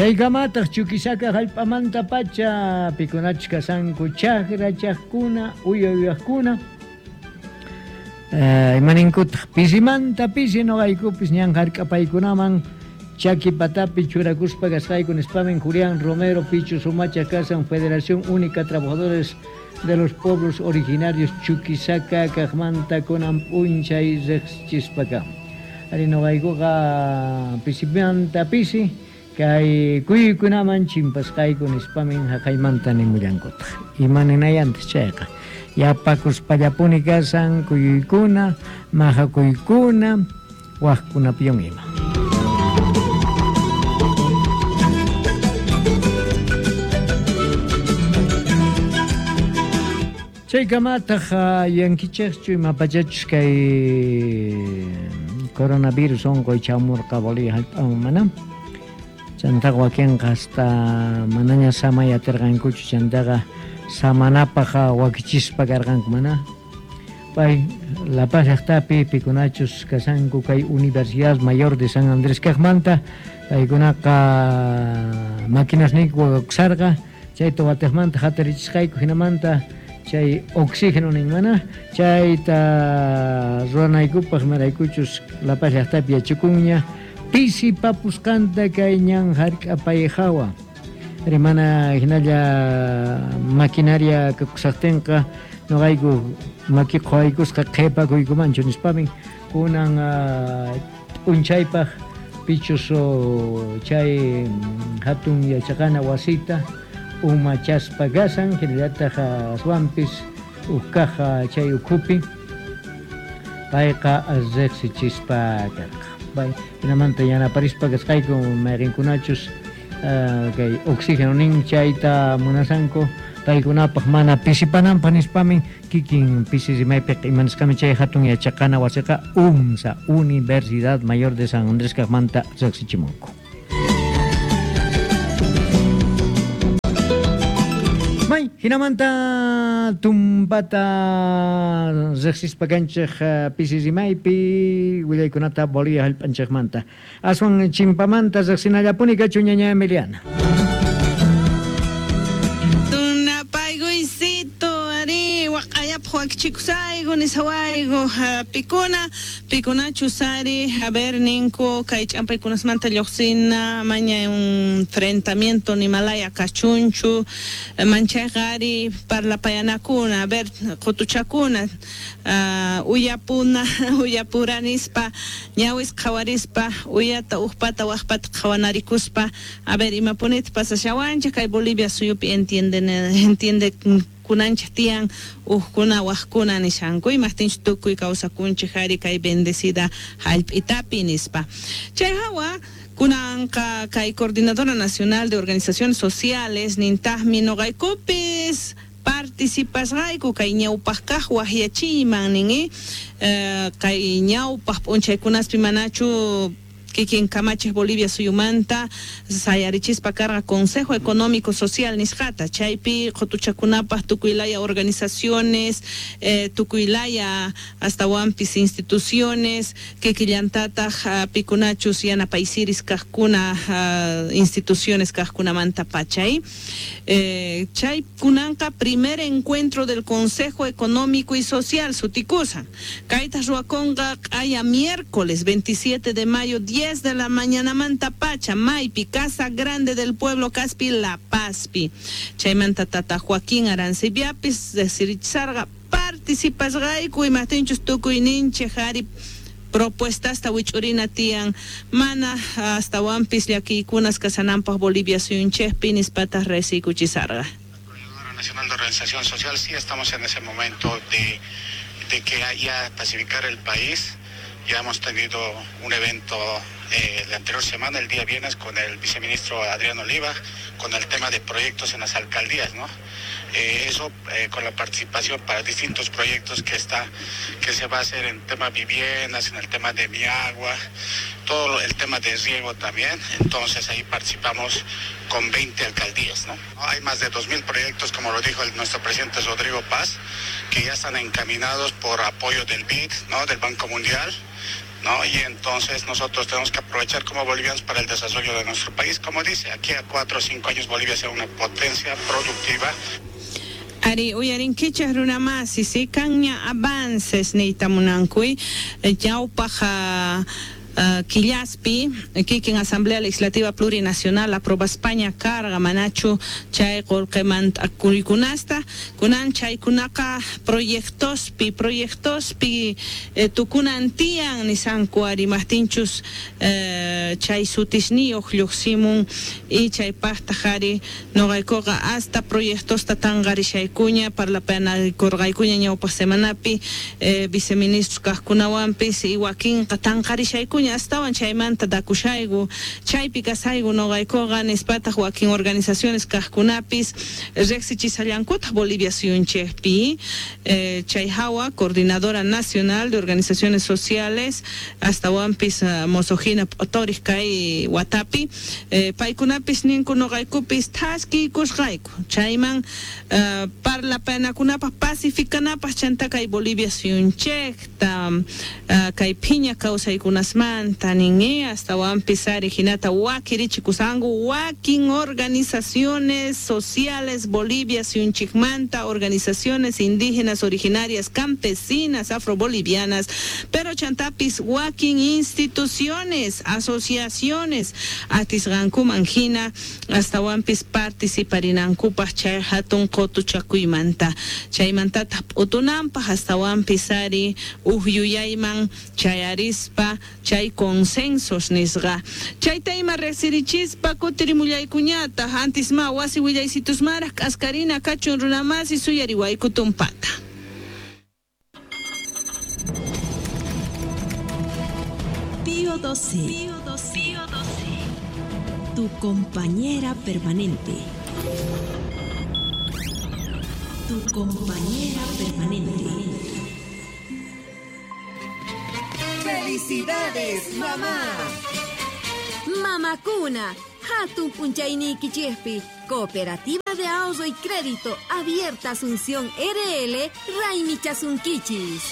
Chaykamataq Chuquisaca jallp'amantapacha pikunachus kashanku chajrachajkuna, uya uyajkuna. Imaninkutaq pisimanta pisi noqaykupis ñan jark'apaykunaman chaki patapi churakuspa kasqayku nispamin Julián Romero Pichu Sumacha kasan Federación Única Trabajadores de los Pueblos Originarios Chuquisaca kajmanta kunan p'unchay riqsichispa kan. Ari noqaykuqa pisimanta pisi kay kuyuykunaman chimpasqayku nispamin jaqaymanta nimullankutaq. Ima ninayantaq chayqa yapakuspallapuni kasan kuyuykuna, majakuykuna, wajkunapiwan ima. Chaykamataq yuyankichejchu ima pachachus kay coronavirus onqoy chamurqa Bolivia jallp'aman mana? Chantaqa wakenqa hasta manaña samay aterqankuchu, chantaqa samanapaj wakichispa karqanku mana? Pay La Paz llajtapi pikunachus kashanku kay Universidad Mayor de San Andrés kajmanta, paykunaqa maquinasniyku wakakusharqa, chayta watejmanta jatarichisqayku, jinamanta chay oxígeno nin mana, chayta ruwanaykupaj imaraykuchus La Paz llajtapi yachakunña pisipapusqanta kay ñan jark'apay jawa. Mana jinalla maquinaria kakusajtenqa noqayku maki qhawaykusqa qhepakuykumanchu nispamin kunan p'unchaypaj pichus chay jatun yachaqana wasita umachaspa kasan, jinallataj aswanpis uj kaj chay ukhupi payqa riqsichispa karqa. Jinamanta yanaparispa kasqayku mayqinkunachus kay oxígeno nin chayta munasanku paykunapaj mana pisipananpaj nispamin kikin pisi rimaypiqa imanisqami chay jatun yachaqana wasiqa UMSA, Universidad Mayor de San Andrés kajmanta riqsichimunku. May jinamanta tumpata riqsispa kanchej pisi rimaypi willaykunata Bolivia jallp'anchejmanta. Aswan chimpamanta riqsinallapuni kachun ñaña Emiliana. Tunapaykuysito ari waq'ayapaj wakichikusayku nisawayku pikuna pikunachus ari a ver ninku kay ch'ampaykunasmanta lluqsina maña un enfrentamiento nimalaya kachunchu manchayqa ari parlapayanakuna a ver qutuchakuna uyapuna uyapuranispa ñawis qhawarispa uyata ujpata wajpata qhawanarikuspa a ver imapunita pasashawanchik kay Bolivia suyupi entiende kunanchik tiyan ujkuna wajkuna nishanku imajtinchu tukuy kawsakunchik ari kay bendecida jallp'itapi nispa. Chay hawa kunanqa kay Coordinadora Nacional de Organizaciones Sociales nintajmi noqaykupis participasqayku kay ñawpaj kaj wajyachiyman nin kay ñawpaj p'unchaykunaspi manachu kikin kamachej Bolivia suyumanta sayarichispa karqa Consejo Económico Social nisqata chaypi qutuchakunapaj tukuylaya organizaciones tukuylaya astawanpis instituciones kikillantataq pikunachus yanapaysiris kajkuna instituciones kajkunamanta pachay chay kunanqa primer encuentro del Consejo Económico y Social sutikusan kayta ruwakunqa q'aya miércoles 27 de mayo 10 de la mañana manta pacha maypi Casa Grande del Pueblo Caspi La Pazpi chaymanta tata Joaquín Arancibiapis decirichisarqa participasqayku imajtinchus tukuyninchej ari propuestasta wich'urina tiyan mana astawanpis llakiykunas kasananpaj Bolivia suyunchejpi nispataq resiykuchisarqa. La Nacional de Organización Social sí estamos en ese momento de que haya pacificar el país. Ya hemos tenido un evento la anterior semana, el día viernes, con el viceministro Adrián Oliva, con el tema de proyectos en las alcaldías, ¿no? Eso con la participación para distintos proyectos que se va a hacer en tema viviendas, en el tema de mi agua, todo el tema de riego también. Entonces ahí participamos con 20 alcaldías, ¿no? Hay más de 2.000 proyectos, como lo dijo nuestro presidente Rodrigo Paz, que ya están encaminados por apoyo del BID, ¿no? Del Banco Mundial. ¿no? Y entonces nosotros tenemos que aprovechar como bolivianos para el desarrollo de nuestro país. Como dice, aquí a 4 o 5 años Bolivia sea una potencia productiva. Ari uyarinkichej runamasi, si kanña avances niyta munankuy, ñawpaj Quillaspi, kikin Asamblea Legislativa Plurinacional aproba España carga manachu chay qullqimanta kurikunasta kunan chaykunaqa proyectospi tukunan tiyan nisanku ari maqtinchus chay sutisniyuq lluqsimun y chaypaqtaq ari nuqaykuqa hasta proyectosta tanqarishaykuña parlapanakurqaykuña ñawpaq semanapi viceministros kaqkunawanpis y wakinqa tanqarishaykuña astawan chaymanta dakushayku chaypi kasayku nuqaykuqa nispataq wakin organizaciones kaqkunapis riqsichisallankutaq Bolivia suyunchikpi chay hawa Coordinadora Nacional de Organizaciones Sociales astawanpis mosojina p'utoriq kay watapi paykunapis ninku nuqaykupis thaskiykusqayku chayman parlapanakunapaq pacificanapaq chanta kay Bolivia suyunchikta kay phiña kawsaykunasman nin astawanpis ari hinata wakirichikusanku wakin organizaciones sociales Bolivia suyunchikmanta organizaciones indígenas originarias campesinas afrobolivianas pero chantapis wakin instituciones asociaciones atisqankuman hina astawanpis participarinankupaq chay hatun qutuchakuymanta chaymantataq p'utunanpaq astawanpis ari uj yuyayman chayarispa chay consensos nisqa chayta ima riqsirichispa kutirimullaykuñataq antis ma wasi willaysitusmaraq k'askarina kachun runamasi suyariwayku tumpata. Pío XII, tu compañera permanente. Tu compañera permanente. ¡Felicidades, mamá! Mamacuna, Hatun Punchaynikichejpi, Cooperativa de Ahorro y Crédito Abierta Asunción RL, Raimichasunkichis.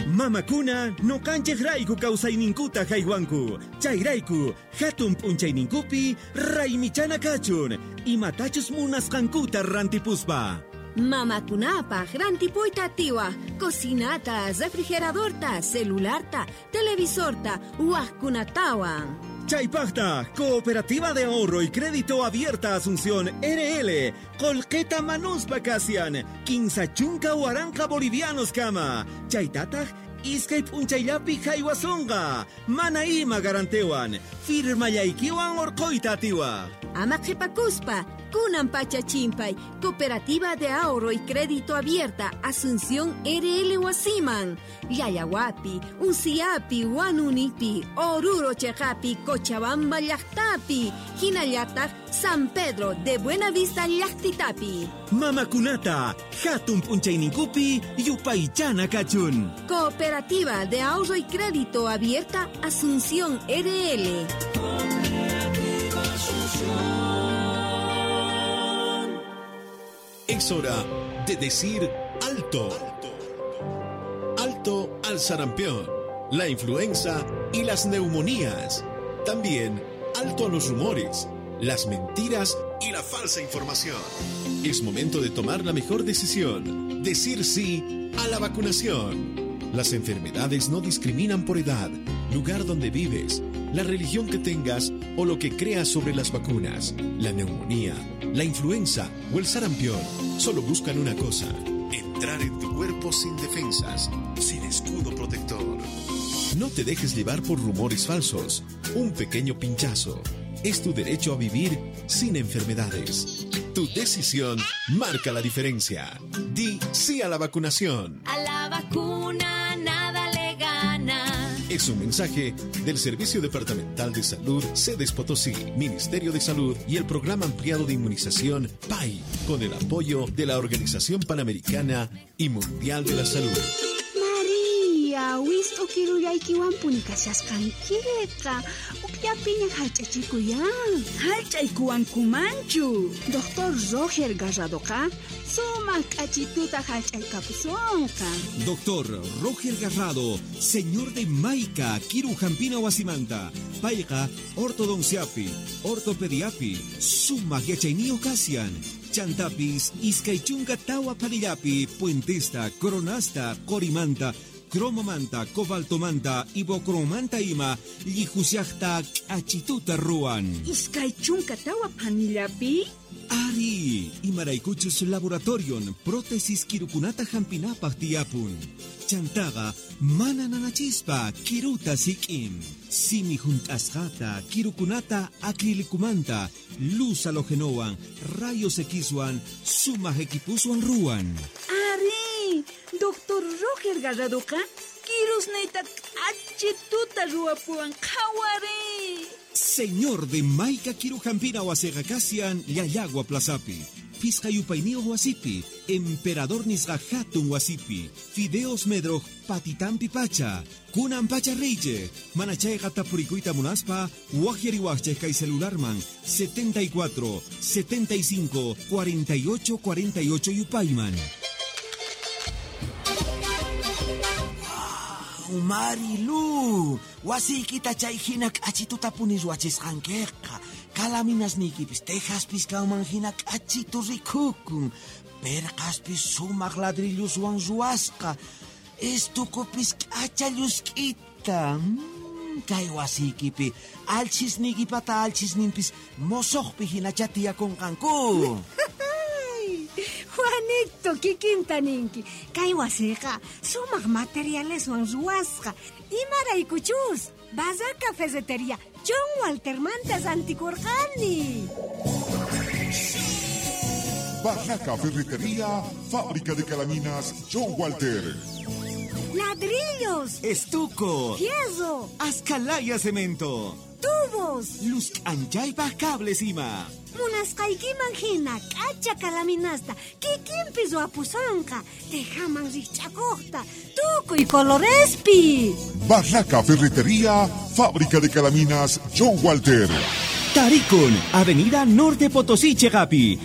Mamakuna noqanchej rayku kawsayninkuta haywanku chayrayku hatun p'unchayninkupi raymichana kachun imatachus munasqankuta rantipuspa. Mamakunapaq rantipuyta atiwaj cocinata, refrigeradorta, celularta, televisorta, wajkunatawan. Chaypaqta, Cooperativa de Ahorro y Crédito Abierta Asunción RL, Colqueta Manuspa Kasian, Kinsa Chunka Waranqa Bolivianos Kama, Chaytataq, iskay p'unchayllapi haywasonqa, mana ima garantewan, firmayaykiwan orqoyta atiwaj. Ama qhipakuspa, kunan pacha chimpay, Cooperativa de Ahorro y Crédito Abierta Asunción RL wasiman, Llallawapi, Unciapi, Huanunipi, Oruro cheqapi, Cochabamba llaqtapi, hinallataq San Pedro de Buenavista llaqtitapi. Mamakunata, hatun p'unchayninkupi yupaychana kachun. Cooperativa de Ahorro y Crédito Abierta Asunción RL. Es hora de decir alto. Alto al sarampión, la influenza y las neumonías. También alto a los rumores, las mentiras y la falsa información. Es momento de tomar la mejor decisión. Decir sí a la vacunación. Las enfermedades no discriminan por edad, lugar donde vives, la religión que tengas o lo que creas sobre las vacunas. La neumonía, la influenza o el sarampión solo buscan una cosa: entrar en tu cuerpo sin defensas, sin escudo protector. No te dejes llevar por rumores falsos. Un pequeño pinchazo es tu derecho a vivir sin enfermedades. Tu decisión marca la diferencia. Di sí a la vacunación. A la vacuna nada le gana. Es un mensaje del Servicio Departamental de Salud, Sedes Potosí, Ministerio de Salud y el Programa Ampliado de Inmunización PAI, con el apoyo de la Organización Panamericana y Mundial de la Salud. María, Wist'u kirullaykiwanpuni kashasqankiqa. Ukllapiña hallch'achikuy á. Hallch'aykuwankumanchu. Doctor Roger Garradoqa sumaq k'achituta hallch'aykapusonqa. Doctor Roger Garrado, señor de Maica, Kiru Jampina Wasimanta, Payqa, Ortodonciapi, Ortopediapi, Sumaq Yachayniyuq Kasian, Chantapis, Iskay Chunka Tawa Panillapi, Puentesta, Coronasta, Corimanta, Cromomanta, Cobaltomanta, Ibocromanta ima, Llijusiajta, K'achituta Ruan. Iskay chunka tawa panillapi? Ari, imaraykuchus laboratorion, prótesis kirukunata hampinapaq tiyapun. Chantaqa, mana nanachispa, kiruta sik'in. Simi hunt'asqata, kirukunata acrilicumanta, luz halogenowan, rayos Xwan, sumaq equipuswan ruwan. Ari, Doctor Roger Garradoqa, kirusniyta k'achituta ruwapuwan qhawari. Señor de Maica Kirujampina wasiqa kasian Llallagua Plazapi. Pisqa yupayniyuq wasipi, Emperador nisqa hatun wasipi, Fideos Medroj patitampi pacha, Kunan pacha reyche, manachayqa tapurikuyta munaspa, waqyariwaqchej kay celularman 74 75 48 48 yupayman. Marilu, wasiykita chay hina k'achituta puni ruwachisqankiqa. Kalaminasniykipis tejaspis kanman hina k'achitu rikukun. Perqaspis sumaq ladrilluswan ruwasqa. Estukupis k'acha llusk'ita. Kay wasiykipi alchisniykipata alchisninpis mosoqpi hinachá tiyakunqanku. Juanito, kikinta ninki. Kay wasiqa sumaq materialeswan ruwasqa. Imaraykuchus, Barraca Ferretería, John Waltermanta rantikurqani. Barraca Ferretería, fábrica de calaminas John Walter. Ladrillos. Estuco. Fierro. Ascalaya cemento. Tubos. Luz anchaypaj cables ima. Munasqaykiman hina k'acha kalaminasta kikinpi ruwapusonqa tejaman rikch'akuqta tukuy colorespi. Barraca Ferretería, fábrica de calaminas John Walter. Tarikun, Avenida Norte Potosí, Chegapi.